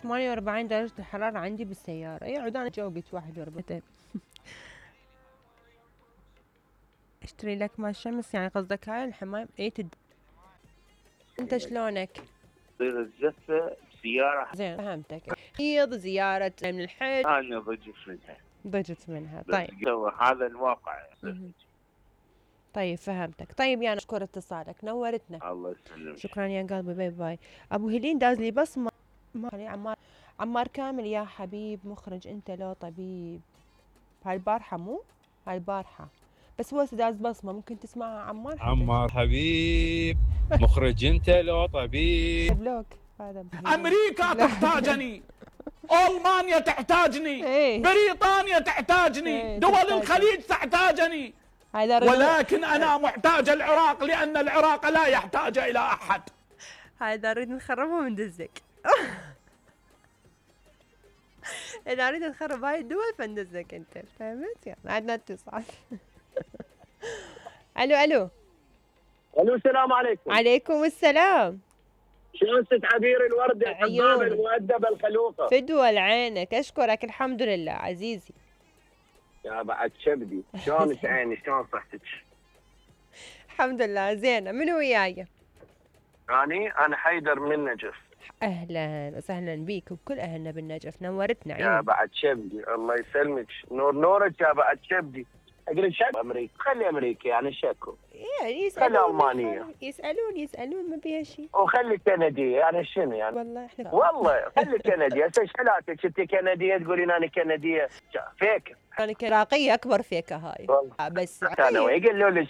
48 درجة الحرارة عندي بالسيارة. يقعد انا جوقت 41. اشتري لك مال شمس يعني قصدك هاي الحماية؟ انت شلونك؟ تصير الزفة بسيارة. زين فهمتك. حيض زيارة من الحج انا ضجت منها. طيب هذا الواقع. طيب فهمتك. طيب يعني اشكر اتصالك، نورتنا. الله يسلمك. شكرا يا قلبي، باي باي. ابو هيلين داز لي بصمة. عمار كامل يا حبيب مخرج انت لو طبيب. هاي البارحة مو؟ هاي البارحة بس هو داز بصمة، ممكن تسمعها عمار. عمار حبيب مخرج انت لو طبيب. بلوك هذا امريكا تحتاجني، المانيا تحتاجني، بريطانيا تحتاجني، دول الخليج تحتاجني، ولكن انا محتاج العراق لان العراق لا يحتاج الى احد. هذا نريد نخربه وندزك. اذا نريد نخرب هاي الدول فندزك انت، فهمت؟ يلا عندنا اتصال. الو السلام عليكم. عليكم السلام. شلون ست عبير الوردة الحبابة المؤدبة الخلوقة؟ فدوى لعينك، اشكرك الحمد لله عزيزي. يا بعد شبدي، شلونك عيني؟ شلون صحتك؟ الحمد لله زينة. منو وياي؟ أنا حيدر من النجف. اهلا وسهلا بيك وبكل اهلنا بالنجف، نورتنا عيوني. يا بعد شبدي الله يسلمك، نورك يا بعد شبدي. اقول شك امريكا، خلي امريكا يعني شكو. يعني يسألون خلي المانية، يسألون ما بيها شيء. وخلي كندية يعني شنو يعني؟ والله احنا والله خلي كندية. هسه ايش حالاتك انت كندية تقولين انا كندية؟ فيك. انا عراقية اكبر فيك هاي. والله بس انا يقولوا لي